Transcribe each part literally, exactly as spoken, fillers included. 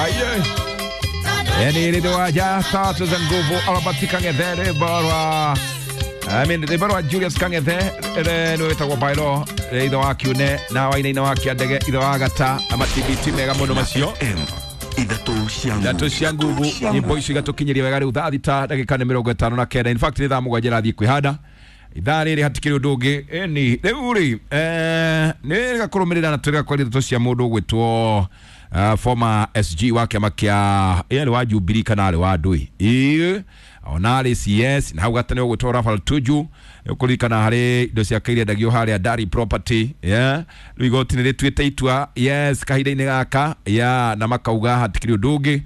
Aye. Yani rĩthĩ ja tatu za nguvu Albert Kang'ethe rwĩmbo rwa I mean rwĩmbo rwa Julius Kang'ethe nĩ wĩtagwo Bairo ithe wa Kiune na Wainaina wa Kĩandege ithe wa Gata ama T B T mega mũno macio ithatũ cia ithatũ cia nguvu nyĩmbo icio igatũkinyĩria wega rĩu thaa thita ndagĩka nĩ mĩrongo ĩtano na kenda. In fact nĩ thaa mũgwanja irathiĩ kwĩhanda ithaa rĩrĩ hatikĩrĩ ũndũ ũngĩ ĩni rĩu rĩ nĩ rĩgakũrũmĩrĩra na tũrĩgakwaria ndeto cia mũndũ ũgwĩtwo Uh, former S G wa kĩama kĩa ĩ arĩ wa Jubilee kana arĩ wa ndũĩ ĩ ona arĩ C S na hau gatene ũgwĩtwo Raphael Tuju ũkũririkana harĩ indo ciake iria endagio harĩa Dari Property yeah rĩu igoti nĩ rĩtuĩte itua yes kahinda-inĩ gaka yeah na makauga hatikĩrĩ ũndũ ũngĩ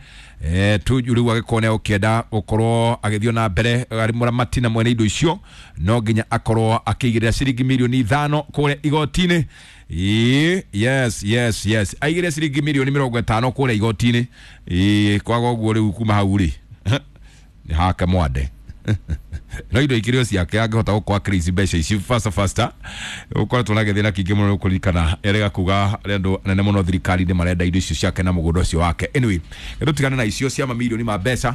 eh Tuju rĩu agĩkorwo nĩ ũkĩenda gũkorwo agĩthiĩ na mbere arĩ mũramati na mwene indo icio no nginya akorwo akĩigĩrĩra ciringi mirioni ithano kũrĩa igoti-inĩ. Yes yes yes aigĩrĩre ciringi mirioni mĩrongo ĩtano kũrĩa igoti-inĩ ĩ kwaga ũguo rĩu kuma hau rĩ nĩ hake mwande no indo ikĩrĩ o ciake angĩhota gũkorwo akĩrĩici mbeca ici faster faster ũkoretwo na gĩthĩna kĩingĩ mũno ũkũririkana erega kuga arĩa andũ anene mũno thirikari-inĩ marenda indo icio ciake na mũgũnda ũcio wake. Anyway tũtigane na icio cia mamirioni ma mbeca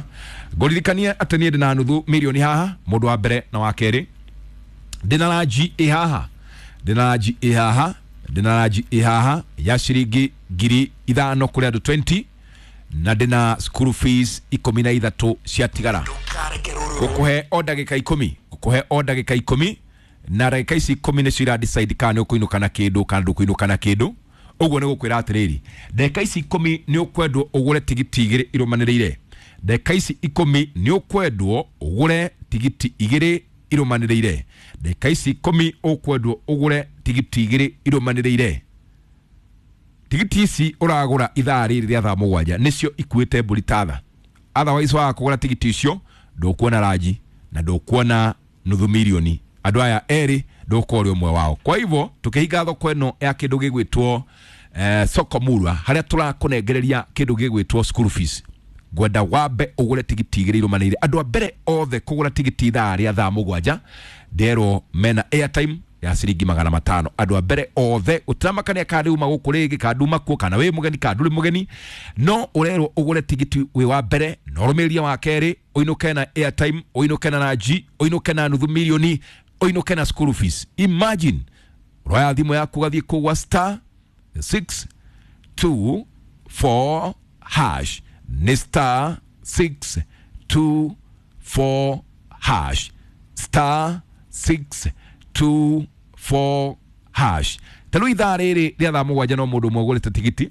ngũririkanie atĩ niĩ ndĩna nuthu mirioni haha mũndũ wa mbere na wa kerĩ ndĩna ranji ĩ haha ndĩna ranji ĩ haha ndĩna ranji ĩ haha ya ciringi ngiri ithano kũrĩ andũ twenty na ndĩna school fees ikũmi na ithatũ ciatigara gũkũhe o ndagĩka ikũmi gũkũhe o ndagĩka ikũmi na ndagĩka ici ikũmi nĩcio ira decide kana nĩ ũkũinũka na kĩndũ kana ndũkũinũka na kĩndũ ũguo nĩ gũkwĩra atĩrĩrĩ ndagĩka ici ikũmi nĩ ũkwendwo ũgũre tigiti igĩrĩ irũmanĩrĩire ndagĩka ici ikũmi nĩ ũkwendwo ũgũre tigiti igĩrĩ irũmanĩrĩire ndagĩka ici ikũmi ũkwendwo ũgũre tigiti igĩrĩ irũmanĩrĩire tigiti ici ũragũra ithaa rĩrĩ rĩa thaa mũgwanja nĩcio ikuĩte mbũri ta tha otherwise waga kũgũra tigiti icio ndũkuona ranji na ndũkuona nuthu mirioni andũ aya erĩ ndũkorwo ũrĩ ũmwe wao. Kwa hivyo tũkĩhinga thoko ĩno ya kĩndũ gĩgwĩtwo eh, soko murwa harĩa tũrakũnengereria kĩndũ gĩgwĩtwo school fees ngwenda wambe ũgũre tigiti igĩrĩ irũmanĩrĩire andũ a mbere othe kũgũra tigiti ithaa rĩa thaa mũgwanja nderwo mena airtime ya ciringi magana matano andũ a mbere othe ũtiramakania kana uma gũkũ rĩngĩ kana nduma kuo kana wĩ mũgeni kana ndũrĩ mũgeni no ũrerwo ũgũre tigiti wĩ wa mbere na ũrũmĩrĩrie wa kerĩ ũinũke na airtime ũinũke na ranji ũinũke na nuthu mirioni ũinũke na school fees. Imagine ũroya thimũ yaku ũgathiĩ kũgwa star six two four hash nĩ star six two four hash star six two four hash ta rĩu ithaa rĩrĩ rĩa thaa mũgwanja no mũndũ ũmwe ũgũrĩte tigiti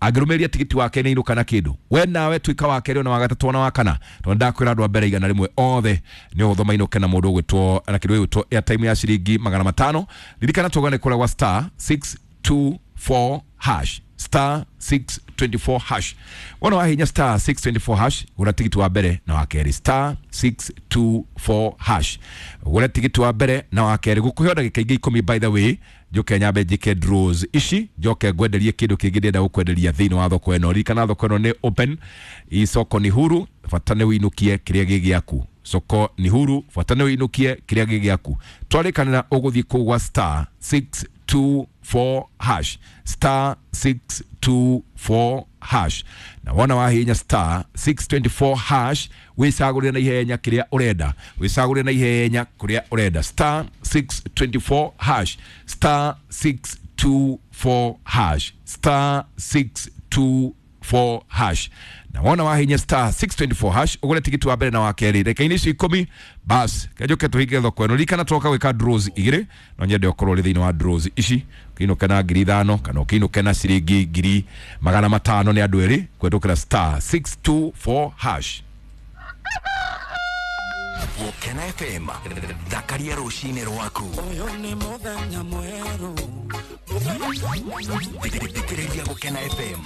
angĩrũmĩrĩria tigiti wake nĩ inũka na kĩndũ we nawe tuĩka wa kerĩ ona wa gatatũ ona wa kana tondũ ndakwĩra andũ a mbere igana rĩmwe othe nĩ ũhũthũ mainũke na mũndũ ũgwĩtwo na kĩndũ gĩgwĩtwo airtime ya ciringi magana matano ririkana tũgane kũrĩa gwa star six two four hash star six twenty four hash wona wahinya star six twenty four hash gũra tigiti wa mbere na wa kerĩ star six two four hash gũra tigiti wa mbere na wa kerĩ gũkũhe ndagĩka ingĩ ikũmi by the way njoke nyambe njĩke draws ici njoke ngwenderie kĩndũ kĩngĩ ndĩrenda gũkwenderia thĩinĩ wa thoko ĩno ririkana thoko ĩno nĩ open i soko ni huru bata nĩ ũinũkie kĩrĩa gĩ gĩaku soko ni huru bata nĩ ũinũkie kĩrĩa gĩ gĩaku twarĩkanĩra ũgũthiĩ kũu gwa star six two four hash star six two four hash na wona wahinya star six twenty four hash wicagũrĩre na ihenya kĩrĩa ũrenda wicagũrĩre na ihenya kũrĩa ũrenda star six twenty four hash star six two four hash star six two four hash na wona wahinya star six twenty four hash ũgũre tigiti wa mbere na wa kerĩ ndagĩka-inĩ icio ikũmi bas kenjoke tũhinge thoko ĩno ririkana twoka gwĩka draws igĩrĩ no nyende ũkorwo ũrĩ thĩinĩ wa draws ici ũkĩinũke na ngiri ithano kana ũkĩinũke na ciringi ngiri magana matano nĩ andũ erĩ kũhetũkĩra star six two four hash. Gũkena F M thakaria rũcinĩ rwaku ũyũ nĩ mũthenya mwerũ thikĩrĩria Gũkena F M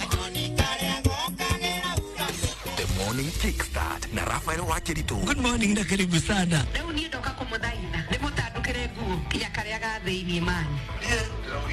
The Morning Kickstart na Raphael Wakiritu. Good morning na karibu sana. Rĩu niĩ ndoka kũmũthaitha ndĩmũtandũkĩre nguo nginya karĩa ga thĩiniĩ mani.